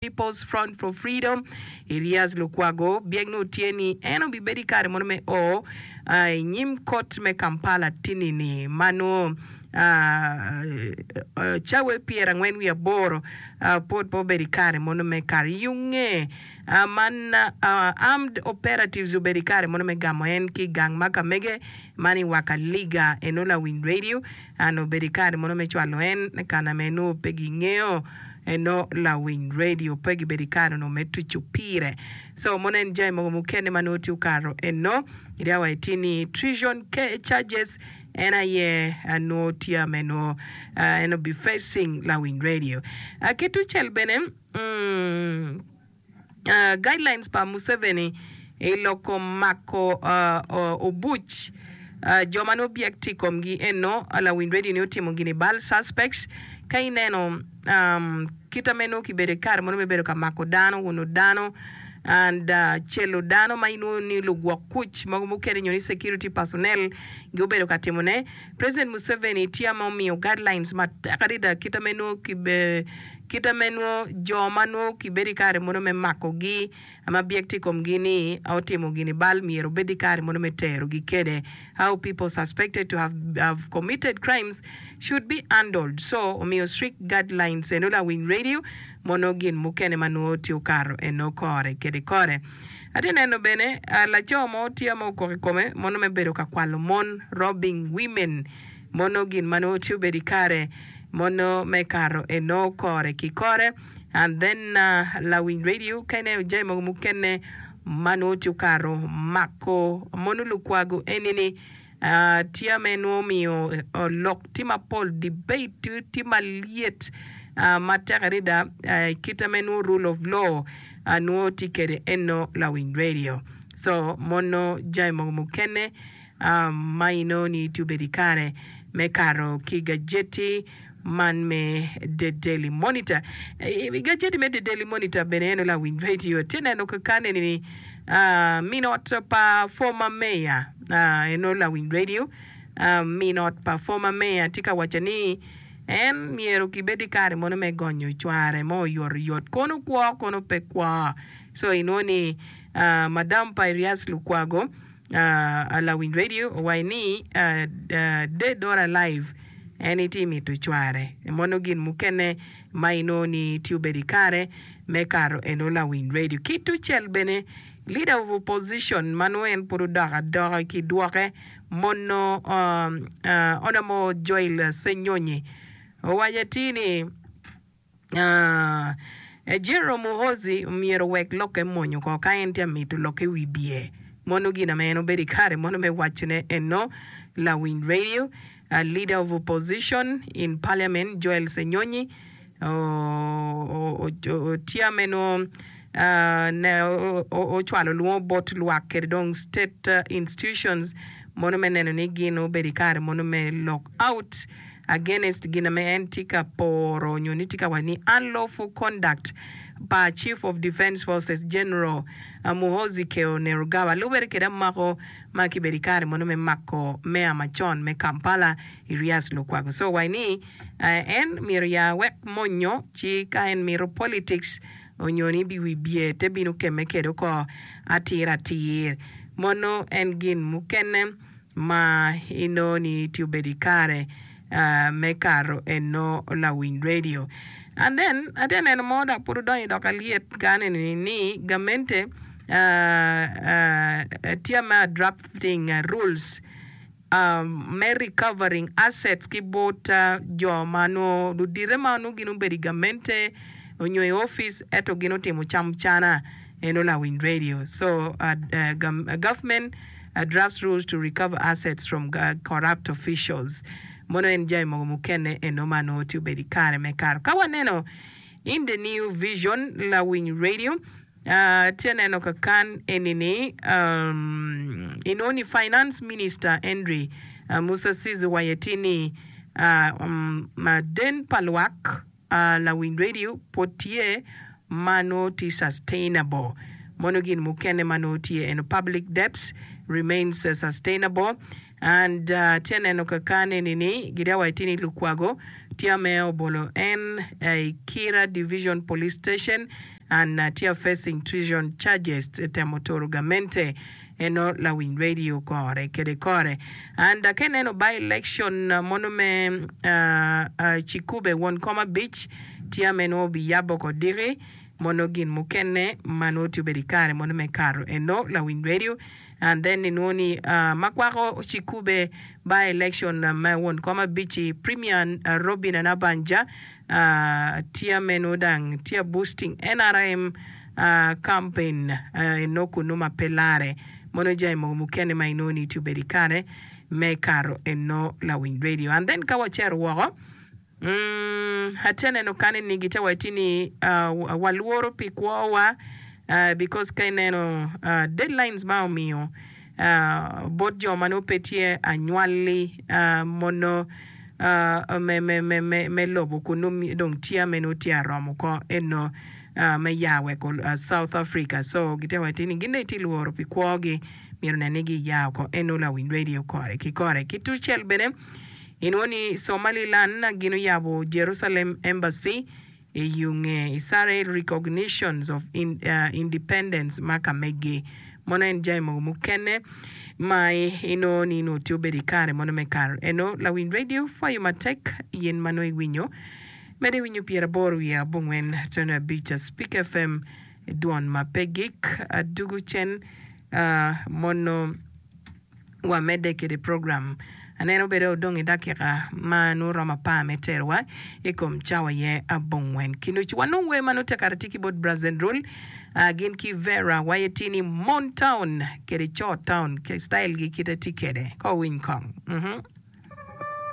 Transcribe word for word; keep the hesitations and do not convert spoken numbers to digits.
People's Front for Freedom Erias Lukwago byek nongo tye ni en obibedo i kare mono me o i nyim kot me Kampala tini-ni ma nongo cawa pyerangwen wiye aboro pwod pe obedo i kare mono me kato i yunge man Armed Operatives obedo i kare mono me gamo en ki i gang ma ka mege man i Wakaliga eno lawiny radio and obedo i kare mono me cwalo en kana ma enongo pe gingeyo eno lawiny radio pe gibedo i kare onongo me tuco pire so mono en jami mogo mukene ma nongo tye okato eno ria wa itye ni treason charges en aye nongo tye me nongo en obi facing lawiny radio ki tucel bene mm, Guidelines pa Museveni i lok kom mako obuc jo ma nongo byek tye i komgi eno lawiny radio ni otimo gin i bal suspects ka ineno kita me nongo kibedo i kare mono me bedo ka mako dano uno dano and celo dano ma inwongo ni lugwok kuc mogo mukene nyo ni security personnel gubedo ka timone President Museveni tye ma omiyo guidelines matek adada kita me nongo Kita me nwo jo ma nwo kibedo i kare mono me makogi ma byek tye i komgi ni otimo gin i bal myero obed i kare mono me terogi kede. How people suspected to have have committed crimes should be handled. So omiyo strict guidelines eno lawiny radio mono gin mukene ma nwo tye okato eno kore kede kore. Atye neno bene laco mo tye ma okok i kome mono me bedo ka kwalo mon, robbing women. Mono gin ma nongo tye obedo i kare mono me kato eno kore ki kore and then lawiny radio ka ineno jami mogo mukene ma nongo tye okato mako mono lukwago eni ni tye me nongo omiyo lok tye mapol debate tye malyet matek adada kite me nongo rule of law nongo tye kede eno lawiny radio so mono jami mogo mukene Ma inongo ni tye obedo i kare me kato ki gajeti man me The Daily Monitor. I gajeti me The Daily Monitor bene en lawiny radio tye neno kakan eni ni min ot pa former mayor eno lawiny radio min ot pa former mayor tye ka waco ni en myero kibed i kare mono me gonyo cware mo oyotoyot kono kwo kono pe kwo. So inongo ni madam pa Erias Lukwago Lawiny radio owaco ni dead or alive en itye mito cware mono gin mukene ma inongo ni tye obedo ikare me kato eno lawiny radio ki tucel bene leader of opposition ma nongo en pud odok adoka ki dwoke mono Honourable Joel Ssenyonyi owaco atir ni General Muhoozi myero owek lokke mony oko ka en tye amito lokke i wi bye. Mono gin ame en obedo i kare mono me wacone eno lawiny radio. Leader of opposition in parliament Joel Ssenyonyi tye ame nongo ocwalo lwongo bot lwak kede dong state institutions mono me neno ni gin obedo i kare mono me lok out against gin ame en tye ka poro nyo ni tye ka waco ni unlawful conduct pa Chief of Defence Forces General Muhoozi Kainerugaba lubere kede amako ma kibedo ikare mono me mako meya macon me Kampala Erias Lukwago. So waco ni en myero ya wek monyo ci ka en mito politics onyo ni wibye te bino keme kede oko atir atir mono en gin mukene ma inongo ni tye obedo i kare me kato eno lawiny radio. And then atye neno mo dok pud odonyo dok alyet ka aneno ni gamente tye me drafting rules me recovering assets ki bot jo ma nongo ludite ma nongo gin obedo i gamente onyo i opic ento gin otimo camucana eno lawiny radio. So government drafts rules to recover assets from corrupt officials. Mono en jami mogo mukene eno ma nongo tye obedo i kare me kato. Ka waneno in the new vision lawiny radio tye aneno kakan eni ni inongo ni finance minister Henry Musasizi owaco atir ni den pa lwak lawiny radio pwod tye ma nongo tye sustainable. Mono gin mukene ma nongo tye eno public debts remains sustainable and atye aneno kakane ni ni gitye waco ni lukwago Tye me obolo en i Kira Division Police Station and tye facing treason charges temo turo gamente eno lawiny radio kore kede kore. And ka ineno by election mono me Kikube won kom abic tye me nongo obiyabo ko diki mono gin mukene ma nongo tye obedo i kare mono me kato eno lawiny radio and then inwongo ni ma kwako Kikube by election me won kom abic-ci Premier Robinah Nabbanja tye me nongo dang tye boosting N R M campaign eno kunu ma pe lare mono jami mogo mukene ma inwongo ni tye obedo i kare me kato eno lawiny radio. And then ka wacito woko, atye neno kani ni gitye waci ni walworo pi kwowa because ka ineno deadlines ma omiyo bot jo ma nongo pe tye anywali mono me lobo kunu dong tye ma nongo tye aromo ko eno me ya weko South Africa. So gitye waci ni gin dong gitye lworo pi kwogi, myero nen ni giya oko eno lawiny radio kore ki kore. Ki tucel bene inwongo ni Somaliland gin oyabo Jerusalem Embassy i yunge Israel recognitions of independence ma ka megi. Mono en jami mogo mukene ma inongo ni nongo tye obedo i kare mono me kato eno lawiny radio pwoyo matek yen ma nongo iwinyo medo iwinyo pyeraboro wiye abongwen tono abic Speak F M dwon ma pe gik adugu cen mono wamedde kede program. Aneno bedo odong i dakika ma nongo romo apar me terowa i kom cawa ye abongwen ki nucu. Wanong wer ma nongo tye kare tye ki bot Brazen Rule gin ki Vera waye tye ni Mon Town kede Co Town ke style gi kite tye kede ko winy kong. Mm -hmm.